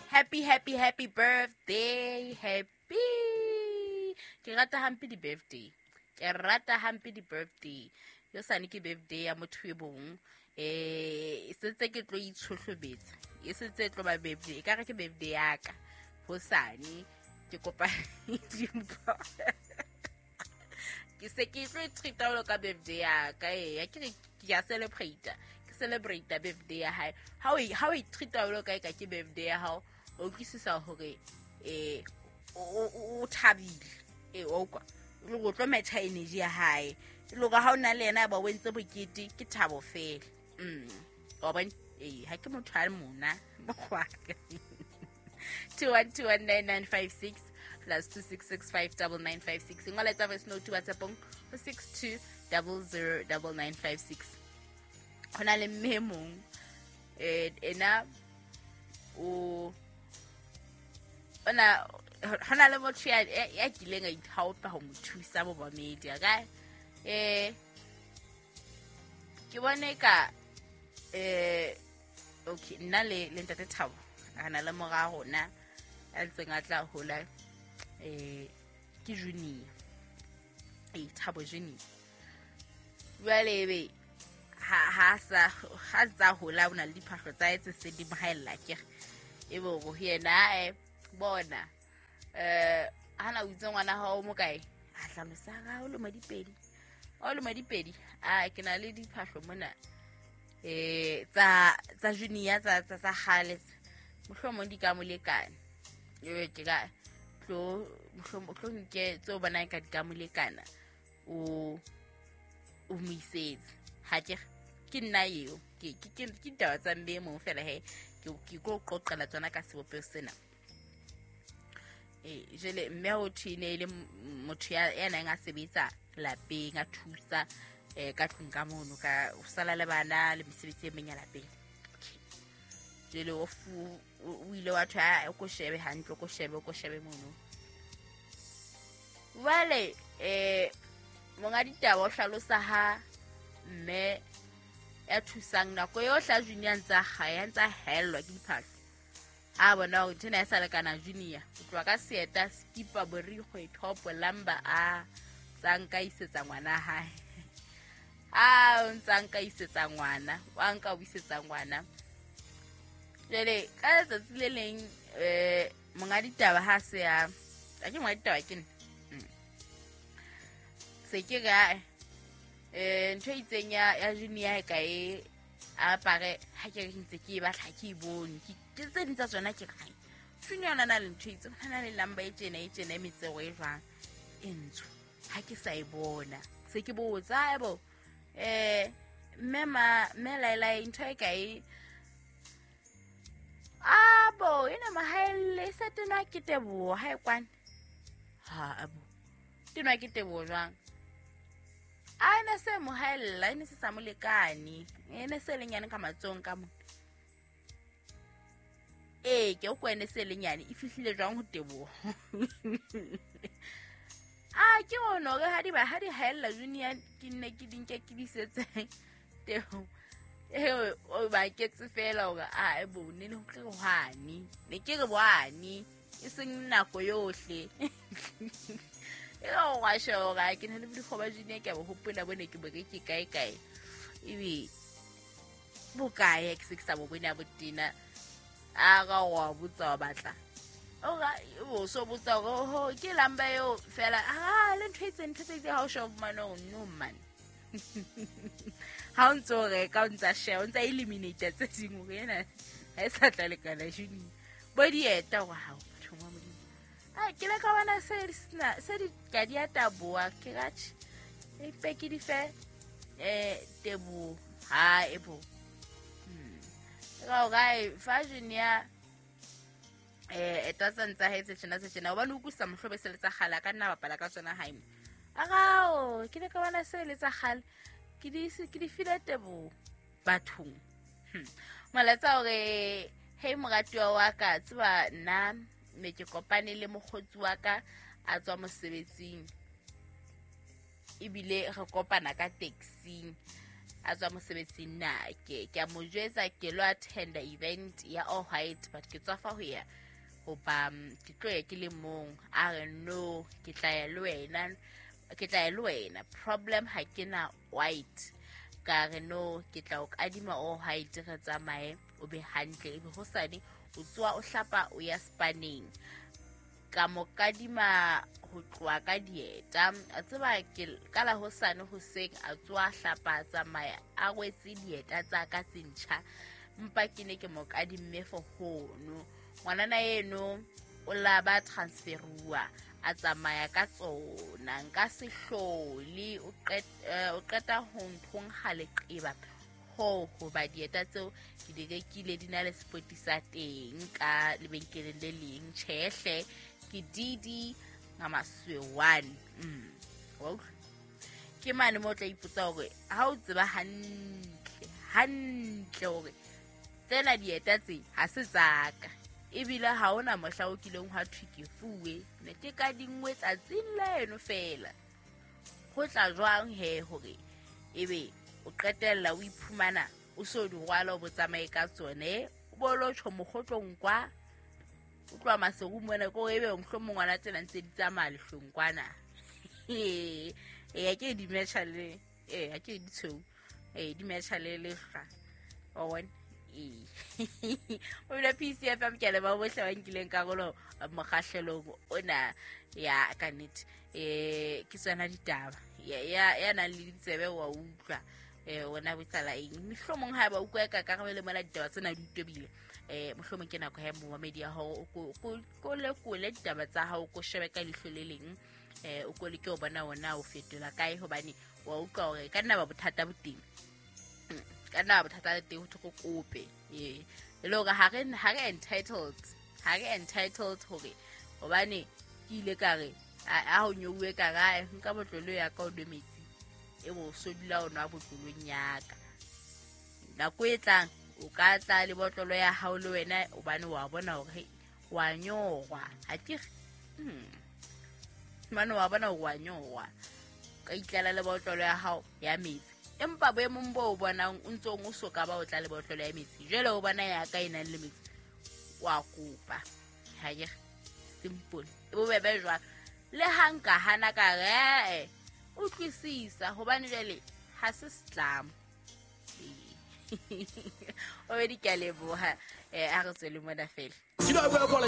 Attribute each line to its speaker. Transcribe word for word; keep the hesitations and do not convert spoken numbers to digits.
Speaker 1: Happy, happy, happy birthday. Happy. Ke rata hampe di-birthday. Ke rata hampe di-birthday. Yo sane ke birthday ya motho e bong. Eh, sentse ke tlo itshohlobetsa. E sentse e tlo ba birthday. E ka re ke birthday ya ka. Hosane ke kopa dimpho. Ke se ke tlo treat-a jwalo ka birthday ya ka. Eya, ke re ke a celebrate. Ke celebrate birthday ya hae. Ha o ha o e treat-a jwalo ka e ka ke birthday ya hao, o utlwisisa hore eh o o thabile. Eh o kwa. Le go tlo match-a energy ya hae. Le hore ha o na le yena ba o entse bokete ke thabo fela. Mm. Wa bona? Eh, ha ke motho a mona. Mokgwa. two one two one nine nine five six plus two six six five double nine five six. Ngola tsa voice note WhatsApp-ong ho six two double zero double nine five six. Hona le mme mong eh ena o ona hona le motho ya ya kileng a ithaopa ho mo thusa bo ba media ka eh ke bone ka eh okay nna le le ntate Thabo re na le mora rona a ntseng a tla hola eh ke junior eh Thabo junior jwale ebe ha ha sa ha tsa hola ona le diphahlo tsa etse se di mohaella ke ebe go yena eh bona eh hana o itse ngwana hao mo kae a hlalosa ga o le madipedi o le madipedi a ke na le diphahlo mona eh tsa tsa junior tsa tsa tsa kgale mohlomong di ka molekane e ke ka tlo mohlomong tlo nke tseo bona ka di ka molekana o o moisetse ha ke ke nna eo ke ke ke ditaba tsa mme mong fela he ke ke go qoqela tsona ka sebopeho sena. Eh jele mme o thine le motho ya ya nang a sebetsa lapeng a thusa eh ka tlung ka mono ka o sala le bana le mesebetsi e meng ya lapeng. Okay. Jele o fu o ile wa thwa o ko shebe hantle o ko shebe o ko shebe mono. Jwale eh monga ditaba o hlalosa ha mme ya thusang nako yohle a junior ntsa ha ntsa hellwa ke diphahlo. A bona hore nthwena e sa lekana junior o tloha ka seeta skipa borikgwe thopo lamba a tsa nka isetsa ngwana hae. A o ntsa nka isetsa ngwana wa nka o isetsa ngwana. Jwale ka letsatsi le leng eh monga ditaba ha se ya a ke monga ditaba ke nna se ke ga eh ntho e itseng ya ya junior e ka e apare ha ke re ntse ke e batla ke e bone ke ke tse ding tsa tsona ke re junior ona na le ntho e itseng ona le lamba e tjena e tjena e metsego e jwang e ntsho ha ke sa e bona se ke botsa ebo eh mme ma mme laela ntho e ka e abo ena mahaelle sa tenwa ke teboho ha e kwane ha abo tenwa ke teboho jwang a ene se mohaella ene se sa molekane ene se lenyane ka matsong ka mona eh ke o kwene se lenyane e fihlile jwang ho teboho a ke ono re ha di ba ha di haella junior ke nne ke dinke ke disetse teboho eh o ba ketse fela hore a e bone le ho tle hwane ne ke re bwane e seng nako yohle e o wa shora ke ne le dikgoba junior ke bo hopola bone ke bo ke kae kae ebe bokae ke se ke sa bo bone a botena a ga wa botsa wa batla o ga o so botsa ho ke lamba eo fela a le ntho e tseng ntho tse ha o show mano no man ha o ntso reka o ntsa share o ntsa eliminate tse ding hore ena ha e sa tla lekana junior bo dieta wa hao batho ba Modimo a ke le ka bona se sena se di ka di taboa ke ratjhe e pe ke di fe eh tebo ha e bo ga ga fa junior eh eta tsantsa hetse tjena se tjena hobane o kusa mohlobe se le tsa kgale ka nna bapala ka tsona hae agao ke le ka bona se le tsa kgale ke di ke di file tebo bathong malatsa hore hey moratuwa wa ka tseba nna me ke kopane le mokgotsi wa ka a tswa mosebetsing ebile re kopana ka taxing a tswa mosebetsing na ke ke a mo jwetsa ke lo attenda event ya all white, but ke tswafa ho ya hoba ke tlo ya ke le mong. A re no, ke tla ya le wena, ke tla ya le wena, problem ha ke na white. Ka re no, ke tla o kadima all white, re tsamaye o be hantle, ebe hosane o tsoa o hlapa o ya spaneng. Ka mo kadima ho tloha ka dieta, a tseba ke ka la hosane hoseng a tsoa hlapa a tsamaya a rwetse dieta tsa ka tse ntjha, mpa ke ne ke mo kadimme for hono. Ngwanana eno o la ba transferuwa a tsamaya ka tsona, nka se hlole o qeta o qeta ho nthong ha leqeba ho hoba dieta tseo ke di rekile di na le spoti sa teng ka lebenkeleng le leng. Tjhehle ke D D ngamaswe one. Mm. Ke mane mo tla ipotsa hore ha o tseba hantle hantle hore tsena dieta tse ha se tsaka, ebile ha ona mohla o kileng hwa thwe ke fuwe, ne ke ka dingwe tsatsing leno fela. Ho tla jwang he hore ebe o qetella o iphumana o so di rwala o botsamaye ka tsone, o bo lo tjho mokgotlong kwa o tloha Maseru mona ko ebe mohlomong ngwana tsena ntse di tsamaya lehlong kwana. Ee, ke di matcha le ee, ke di tshweu, ee, di matcha le lehlwa, wa bona. Ee, o bile P C F M, ke a leboha bohle ba nkileng karolo mokgahlelong ona ya ka nnete. Eh, ke tsona ditaba ya ya nang le ditsebe wa utlwa eh ona botsala eng, mohlomong ha ba utlwa ka karabelo mona ditaba tsena di utobile. Eh mohlomong ke nako ya momamedi ya hore o ko lekole ditaba tsa hao, ko shebe ka leihlo le leng, eh o ko leke o bona ona o fetola kae, hobane wa utlwa hore ka nna ba bothata bo teng, ka nna ba bothata le teng ho thwe kope. Ee, e le hore ha re ha re entitled, ha re entitled hore hobane ke ile ka re a ho nyouwe ka rae nka botlolo ya ka o nwe metsi, e bo so dula o nwa botlolong ya ka. Nako e tlang o ka tla le botlolo ya hao le wena, hobane wa bona hore wa nyorwa, ha ke hmm mane wa bona hore wa nyorwa, ka itlela le botlolo ya hao ya metsi. Empa boemong bo o bonang o ntsong o soka ba o tla le botlolo ya metsi, jwale o bona ya ka e nang le metsi, wa kopa. Ha ke simple, e bobebe jwalo. Le ha nka hana ka re utlwisisa hobane jwale ha se setlamo. O be di ka leboha, eh a re tswele mona fela.